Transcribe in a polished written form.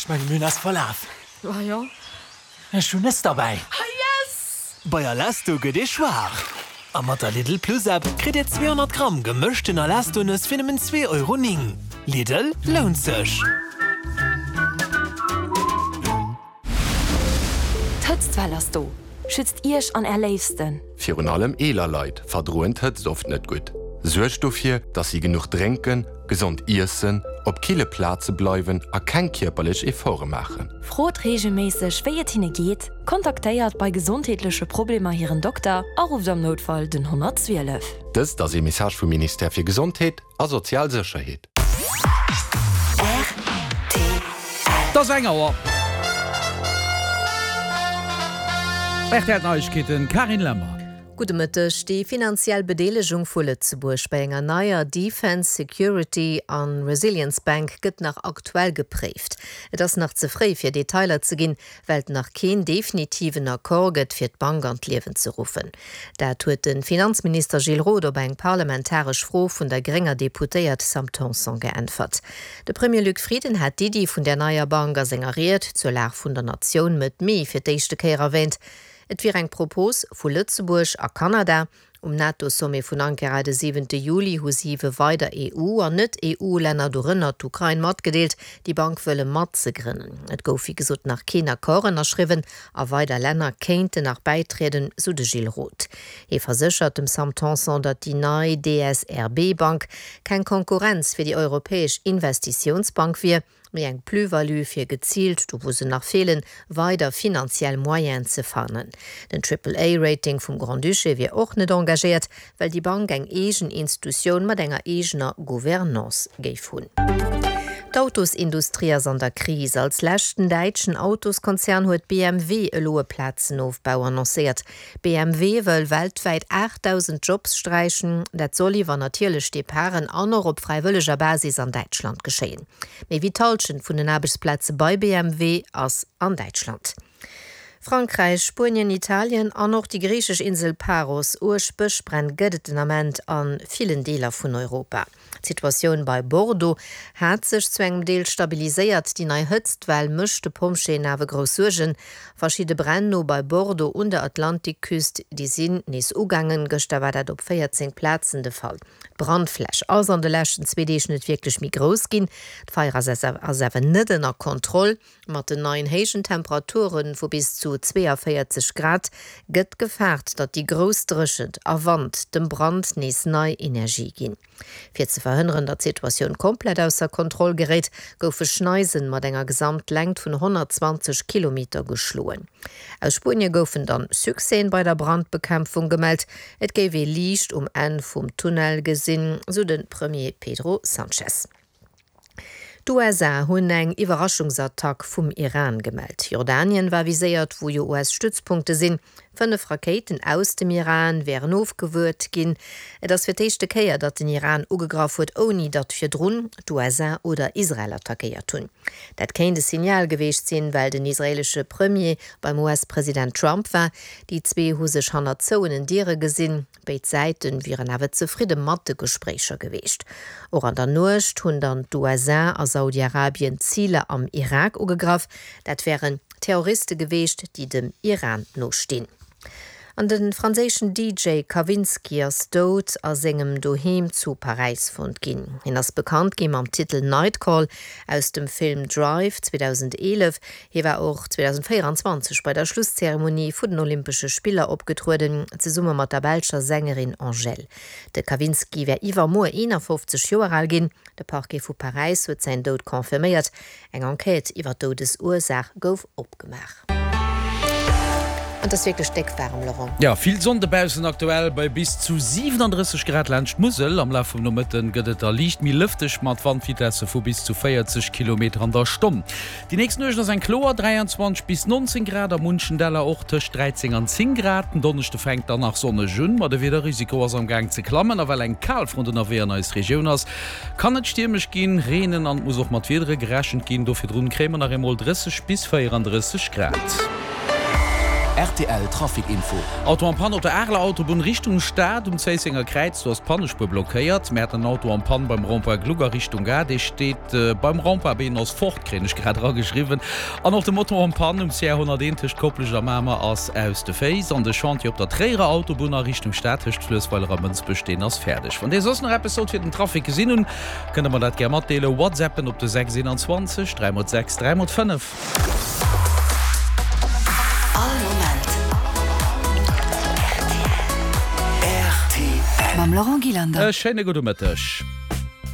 Ech menge mir hunn eis verlaf. Ah jo. Ech hunn Nëss derbäi. Ah yes! Bei Alesto gëtt ee schwaach. A mat der Lidl Plus App kritt Dir 200 Gramm gemëschten Alesto-Nëss fir nëmmen 2,09 Euro. Lidl, lount sech! D'Hëtztwell ass do! Schützt Iech an Är Léifsten! Virun allem eeler Leit verdroen d'Hëtzt oft net gutt. Suergt dofir, dass si genuch drénken, gesond iessen, op kille Plaze bleiwen a keng kierperlech Efforte maachen. Frot reegelméisseg, wéi et hinne geet, kontaktéiert bei gesondheetleche Problemer hiren Dokter a rufft am Noutfall den 112. Dëst ass ee Message vum Ministère fir Gesondheet a sozial Sécherheet. Et ass eng Auer. Rtl Neiegkeeten, Carine Lemmer. Gudde Mëtteg. Déi finanziell Bedeelegung vu Lëtzebuerg bei enger neier Defence, Security an Resilience Bank gëtt nach aktuell gepréift. Et ass nach ze fréi fir Detailer ze ginn, well et nach keen definitiven Accord gëtt fir d'Bank an d'Liewen ze ruffen. Dat huet de Finanzminister Gilles Roth op eng parlamentaresch Fro vun der grénger Deputéiert Sam Tanson geäntwert. De Premier Luc Frieden hat d'Iddi vun där neier Bank a senger Ried zur Lag vun der Natioun Mëtt Mee fir d'éischte Kéier erwäänt. Et wier eng Propos vu Lëtzebuerg a Kanada, Um NATO-Sommet vun Ankara de siwente Juli hu siwe weider EU an Net-EU-Länner, dorënner d'Ukrain, matgedeelt, déi Bank wëlle matzegrënnen. Et gouf wéi gesot nach keen Accord ënnerschriwwen a weider Länner kéinten nach bäitrieden, sou de Gilles Roth. Hie verséchert dem Sam Tanson, datt déi nei DSRB-Bank keng Konkurrenz fir déi Europäesch Investitiounsbank wier, mee eng Plus-value fir geziilt, do wou se nach feelen, weider finanziell Moyenen ze fannen. Den Triple-A-Rating vum Grand-Duché wier och net engagéiert, well déi Bank eng eegen Institutioun mat enger eegener Gouvernance géif hunn. D'Autosindustrie ass an der Kris. Als leschten däitschen Autoskonzern huet BMW elo e Plazenofbau annoncéiert. BMW wëll weltwäit 8.000 Jobs sträichen. Dat soll iwwer natierlech Departen an och op fräiwëlleger Basis an Däitschland geschéien. Méi wéi d'Hallschent vun den Aarbechtsplaze bei BMW ass an Däitschland. Frankräich, Spuenien, Italien an och déi griichesch Insel Paros. Uerg Bëschbränn gëtt et den Ament a villen Deeler vun Europa. D'Situatioun bei Bordeaux hat sech zu engem Deel stabiliséiert. Déi nei Hëtztwell mécht de Pompjeeën awer grouss Suergen. Verschidde Bränn no bei Bordeaux un der Atlantikküst, déi sinn nees ugaangen. Gëschter war dat op 14 Plazen de Fall. D'Brandfläch ass an de leschten zwee Deeg net wierklech méi grouss ginn. D'Feier ass awer net ënner Kontroll. Mat den neien héijen Temperature vu bis zu 42 Grad gëtt gefaart, datt déi grouss Dréchent a Wand dem Brand nees nei Energie ginn. Fir ze verhënneren, datt d'Situatioun komplett ausser Kontroll geréit, goufe Schneisen mat enger Gesamtlängt vun 120 Kilometer geschloen. Aus Spuenie goufen dann Succèsen bei der Brandbekämpfung gemellt. Et géif ee Liicht um Enn vum Tunnel gesinn, sou de Premier Pedro Sanchez. D'USA hunn eng Iwwerraschungsattack vum Iran gemellt. Jordanien war viséiert, wou jo US-Stützpunkte sinn. 5 Rakéiten aus dem Iran wären ofgewuert ginn. Et ass fir d'éischte Kéier, datt den Iran ugegraff huet, ouni datt virdrun d'USA oder Israel attackéiert hunn. Dat kéint e Signal geweecht sinn, well den israeelesche Premier beim US-President Trump war. Déi zwee hu sech hannert zouenen Diere gesinn. Béid Säite wieren awer zefridde mat de Gespréicher geweecht. Och an der Nuecht hunn dann d'USA a Saudi-Arabien Ziler am Irak ugegraff. Dat wären Terroriste geweecht, déi dem Iran no stinn. An de franséischen DJ Kavinsky ass dout a sengem Doheem zu Paräis fonnt ginn. Hien ass bekannt gi mam Titel Nightcall aus dem Film Drive 2011. Hie war och 2024 bei der Schlusszeremonie vu den Olympesche Spiller opgetrueden, zesumme mat der belscher Sängerin Angèle. De Kavinsky wär iwwermuer 51 Joer al ginn. De Parquet vu Paräis huet säin Doud confirméiert. Eng Enquête iwwer d'Doudesursaach gouf opgemaach. An et ass wierklech déck waarem, Laurent. Jo, vill Sonn dobaussen aktuell bei bis zu 37 Grad laanscht d'Musel. Am Laf vum Nomëtten gëtt et da liicht méi lëfteg mat Wandvitesse vu bis zu 40 Kilometer an der Stonn. Déi nächst Nuecht ass eng kloer, 23 bis 19 Grad, a munchen Däller och tëscht 13 an 10 Grad. Den Donneschde fänkt dann nach sonneg un, ma de Wiederrisiko ass am Gaang ze klammen. A well eng Kalfront ënnerwee an eis Regioun ass, kann et stiermesch ginn, reenen an et muss och mat Wiedere gerechent ginn. Do virdrun kréie mer nach eemol 30 bis 34 Grad. Rtl Trafic Info. Auto en Panne op der Areler Autobunn Richtung Stad um Zéissenger Kräiz, do ass d'Pannespuer blockéiert. Mir haten en Auto en Panne beim Rond-point Gluck a Richtung Gare, dee steet beim Rond-point Been ass fort, kréien ech grad erageschriwwen. An och de Moto en Panne um CR 101 tëscht Koplescht a Mamer ass aus de Féiss. An de Chantier op der Tréierer Autobunn a Richtung Stad tëscht Fluessweiler a Mënsbech, deen ass fäerdeg. Wann Dir soss nach eppes sollt fir den Trafic gesinn hunn, kënnt Der mer dat gär matdeelen. Whatsappen op de 6 21 3 x 6 3 x 5. All Moment rtl. Mam Laurent Gillander. E schéine gudde Mëtteg.